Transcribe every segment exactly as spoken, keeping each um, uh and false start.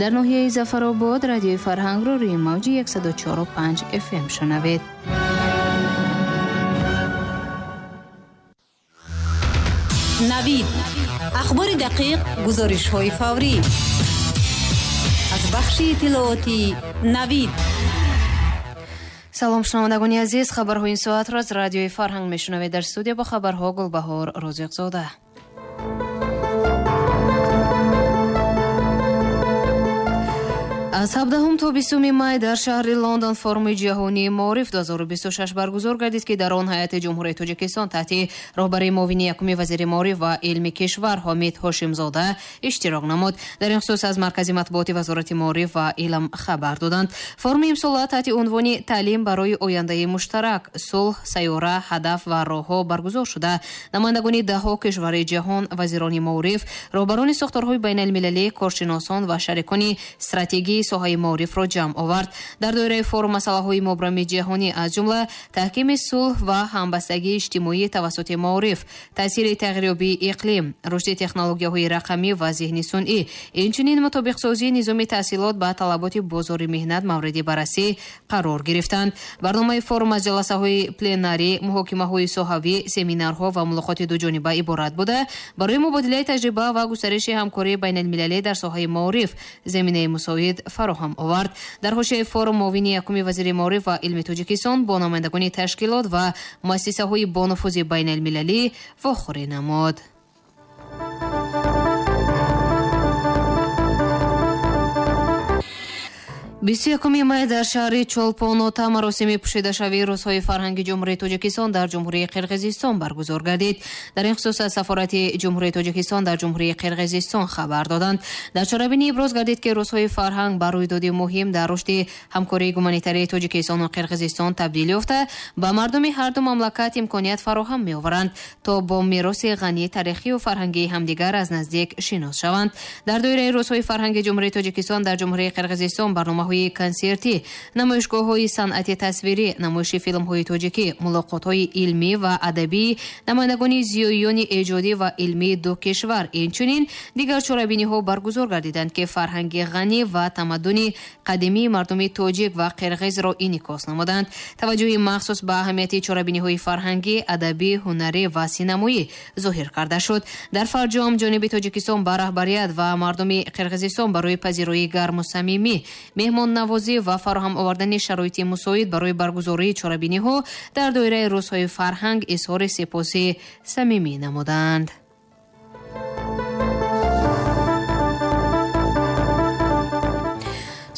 Дар ноҳияи Зафаробод радиои Фарҳангро рӯи мавҷи яксаду чору панҷ эф эм шунавед. Навид. Ахбори дақиқ, гузоришҳои фаврӣ. Аз бахши иттилоотии Навид. Салом шунавандагони азиз, хабарҳои ин соатро аз радиои Фарҳанг мешунавед. Дар студия бо хабарҳо Гулбаҳор Розиқзода. Аз ҳабдаҳум то бистуми май дар шаҳри Лондон форуми ҷаҳонии маориф ду ҳазору бисту шаш баргузор гардид, ки дар он ҳайати Ҷумҳурии Тоҷикистон таҳти роҳбарии муовини якуми вазири маориф ва илми кишвар Ҳомид Ҳошимзода иштирок намуд. Дар ин хусус аз маркази матбуоти Вазорати маориф ва илм хабар доданд. Форуми имсола таҳти унвони таълим барои ояндаи муштарак, сулҳ, сайёра, ҳадаф ва роҳҳо баргузор шуда. Намояндагони даҳҳо кишвари ҷаҳон, вазирони маориф, роҳбарони сохторҳои байналмилалӣ, коршиносон ва шарикони стратегии соҳаи маорифро ҷамъ овард. Дар доираи форум масъалаҳои мубрами ҷаҳонӣ аз ҷумла таҳкими сулҳ ва ҳамбастагии иҷтимоӣ тавассути маориф, таъсири тағйирёбии иқлим, рушди технологияҳои рақамӣ ва зеҳни сунъӣ, инчунин мутобиқсозии низоми таҳсилот ба талаботи бозори меҳнат мавриди баррасӣ қарор гирифтанд. Барномаи форум аз ҷаласаҳои пленарӣ, муҳокимаҳои соҳавӣ, семинарҳо ва мулоқоти дуҷониба иборат буда, барои мубодилаи таҷриба ва густариши ҳамкории байналмилалӣ дар соҳаи маориф заминаи мусоид фароҳам овард. Дар ҳошияи форум муовини якуми вазири маориф ва илми Тоҷикистон бо намояндагони ташкилот ва муассисаҳои бонуфузи байналмилалӣ вохӯрӣ намуд. бисту якуми май дар шаҳри Чолпонота маросими пӯшидашавии рӯзҳои фарҳанги Ҷумҳурии Тоҷикистон дар Ҷумҳурии Қирғизистон баргузор гардид. Дар ин хусус аз сафорати Ҷумҳурии Тоҷикистон дар Ҷумҳурии Қирғизистон хабар доданд. Дар чорабинӣ иброз гардид, ки рӯзҳои фарҳанг ба рӯйдоди муҳим дар рушди ҳамкории гуманитарии Тоҷикистону Қирғизистон табдил ёфта, ба мардуми ҳарду мамлакат имконият фароҳам меоваранд, то бо мероси ғании таърихию фарҳангии ҳамдигар аз наздик шинос шаванд. Дар доираи рӯзҳои фарҳанги Ҷумҳурии Тоҷикистон дар Ҷумҳурии Қирғизистон барномаҳои консертӣ, намоишгоҳҳои санъати тасвирӣ, намоиши филмҳои тоҷикӣ, мулоқотҳои илмӣ ва адабӣ, намояндагони зиёиёни эҷодӣ ва илмии ду кишвар, инчунин дигар чорабиниҳо баргузор гардиданд, ки фарҳанги ғанӣ ва тамаддуни қадимии мардуми тоҷик ва қирғизро инъикос намуданд. Таваҷҷӯҳи махсус ба аҳамияти чорабиниҳои фарҳангӣ, адабӣ, ҳунарӣ ва синамоӣ зоҳир карда шуд. Дар фарҷом ҷониби Тоҷикистон ба раҳбарият ва мардуми Қирғизистон барои пазироии гарму самимӣ, меҳмоннавозӣ ва фароҳам овардани шароити мусоид барои баргузории чорабиниҳо дар доираи рӯзҳои фарҳанг изҳори сипоси самимӣ намуданд.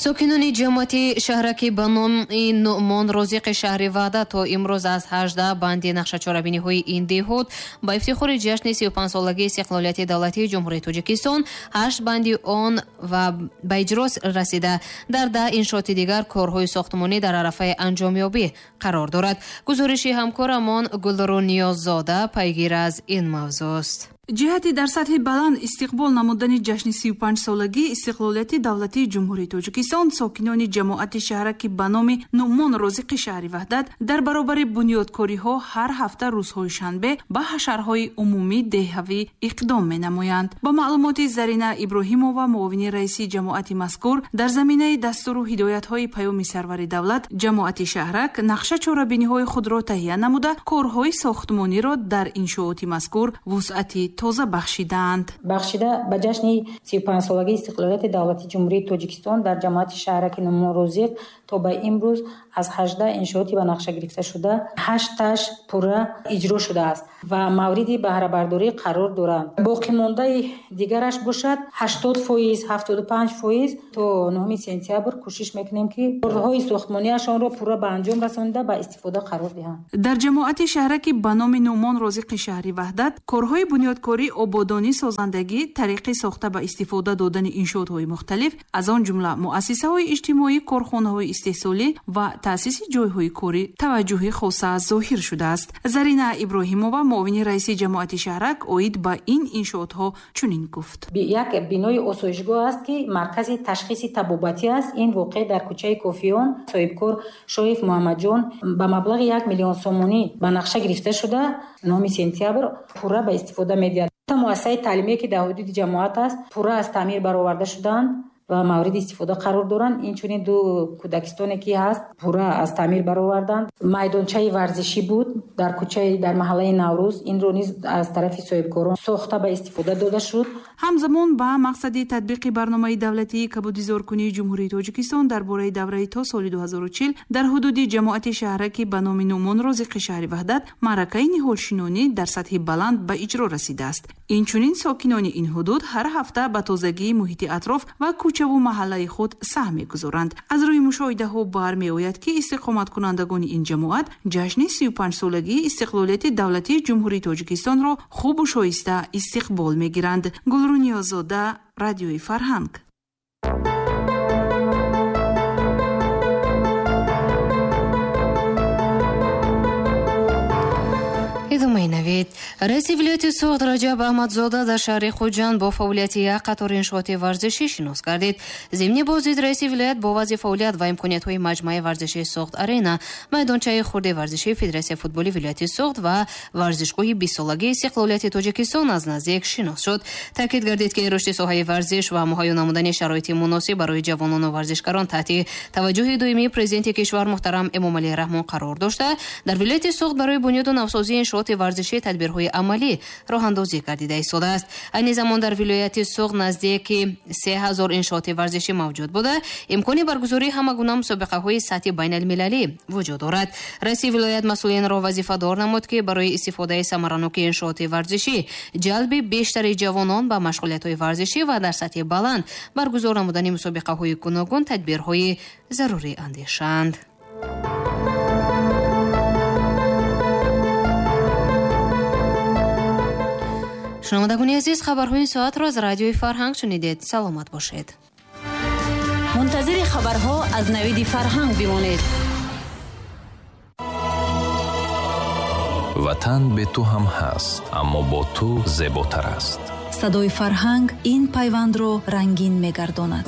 Сокинони ҷамоати шаҳраки ба номи Нуъмон Розиқи шаҳри Ваҳдат то имрӯз аз ҳаждаҳ банди нақшачорабиниҳои ин деҳот ба ифтихори ҷашни сию панҷсолагии истиқлолияти давлатии Ҷумҳурии Тоҷикистон ҳашт банди он ва ба иҷро расида, дар даҳ иншооти дигар корҳои сохтмонӣ дар арафаи анҷомёбӣ қарор дорад. Гузориши ҳамкорамон Гулру Ниёззода пайгир аз ин мавзӯст. Ҷиҳати дар сатҳи баланд истиқбол намудани ҷашни сию панҷсолагии истиқлолияти давлатии Ҷумҳурии Тоҷикистон, сокинони ҷамоати шаҳраки ба номи Нуъмон Розиқи шаҳри Ваҳдат дар баробари бунёдкориҳо ҳар ҳафта рӯзҳои шанбе ба ҳашарҳои умумӣ деҳавӣ иқдом менамоянд. Ба маълумоти Зарина Иброҳимова, муовини раиси ҷамоати мазкур, дар заминаи дастуру ҳидоятҳои паёми сарвари давлат ҷамоати шаҳрак нақша чорабиниҳои худро таҳия намуда, корҳои сохтмониро дар иншооти мазкур вусъати тоза бахшидаанд. Бахшида ба ҷашни сию панҷсолагии истиқлолияти давлатии Ҷумҳурии Тоҷикистон дар ҷамоати шаҳраки Нуъмон Розиқ то ба имрӯз аз ҳаждаҳ иншооти ба нақша гирифташуда ҳашташ пурра иҷро шудааст ва мавриди баҳрабардорӣ қарор доранд. Боқимондаи дигараш бошад ҳаштод фоиз, ҳафтоду панҷ фоиз то нуҳуми сентябр кӯшиш мекунем, ки корҳои сохтмониашонро пурра ба анҷом расонида ба истифода қарор диҳанд. Дар ҷамоати шаҳраки ба номи Нуъмон Розиқи шаҳри Ваҳдат корҳои бунёдкорӣ, ободонӣ, созандагӣ, тариқи сохта ба истифода додани иншоотҳои мухталиф, аз он ҷумла муассисаҳои иҷтимоӣ, корхонаҳои истеҳсолӣ ва таъсиси ҷойҳои корӣ таваҷҷӯҳи хоса зоҳир шудааст. Зарина Иброҳимова, муовини раиси ҷамоати шаҳрак, оид ба ин иншоотҳо чунин гуфт. Як бинои осоишгоҳ аст, ки маркази ташхиси табобатӣ аст. Ин воқеъ дар кӯчаи Кофиён соҳибкор Шоев Муҳаммадҷон ба маблағи як миллион сомонӣ ба нақша гирифта шуда, нуҳуми сентябр пурра ба истифода медиҳад. Муассисаи таълимие, ки дар ҳудуди ҷамоат аст, пурра аз таъмир бароварда шудаанд. ва мавриди истифода қарор доранд. Инчунин ду кӯдакистоне ки ҳаст пурра аз таъмир бароварданд. Майдончаи варзишӣ буд дар кӯчаи дар маҳаллаи Наврӯз, инро низ аз тарафи соҳибкорон сохта ба истифода дода шуд. Ҳамзамон ба мақсади татбиқи барномаи давлатии кабудизоркунии Ҷумҳурии Тоҷикистон дар бораи давраи то соли ду ҳазору чил дар ҳудуди ҷамоати шаҳраки ба номи Нуъмон Розиқи шаҳри Ваҳдат маъракаи ниҳолшинонӣ дар сатҳи баланд ба иҷро расидааст. Инчунин сокинони ин ҳудуд ҳар ҳафта ба тозагии муҳити атроф ва кӯчаву маҳаллаи худ саҳм мегузоранд. Аз рӯи мушоҳидаҳо бармеояд, ки истиқоматкунандагони ин ҷамоат ҷашни сию панҷсолагии истиқлолияти давлатии Ҷумҳурии Тоҷикистонро хубу шоиста истиқбол мегиранд. Гулрӯ Ниёзода, Радиои Фарҳанг. Идомаи навид. Раиси вилояти Суғд Раҷаб Аҳмадзода дар шаҳри Хуҷанд бо фаъолияти як қатор иншооти варзишӣ шинос гардид. Зимни боздид раиси вилоят бо вазъи фаъолият ва имкониятҳои маҷмӯаи варзишии Суғд Арена, майдончаи хурди варзишии Федератсияи футболи вилояти Суғд ва варзишгоҳи бистсолагии истиқлолияти Тоҷикистон аз наздик шинос шуд. Таъкид гардид, ки рушди соҳаи варзиш ва муҳайё намудани шароити муносиб барои ҷавонону варзишгарон таҳти таваҷҷӯҳи доимии президенти кишвар муҳтарам Эмомалӣ Раҳмон қарор дошта, дар вилояти Суғд барои бунёду навсозии иншооти варзишӣ тадбирҳои амалӣ роҳандозӣ гардида истодааст. Айни замон дар вилояти Суғд наздики се ҳазор иншооти варзишӣ мавҷуд буда, имкони баргузории ҳама гуна мусобиқаҳои сатҳи байналмилалӣ вуҷуд дорад. Раиси вилоят масъулинро вазифадор намуд, ки барои истифодаи самараноки иншооти варзишӣ, ҷалби бештари ҷавонон ба машғулиятҳои варзишӣ ва дар сатҳи баланд баргузор намудани мусобиқаҳои гуногун тадбирҳои зарурӣ андешанд. Шунавандагони азиз, хабарҳои соатро аз Радиои Фарҳанг шунидед. Саломат бошед. Мунтазири хабарҳо аз Навиди Фарҳанг бимонед. Ватан бе ту ҳам ҳаст, аммо бо ту зеботар аст. Садои фарҳанг ин пайвандро рангин мегардонад.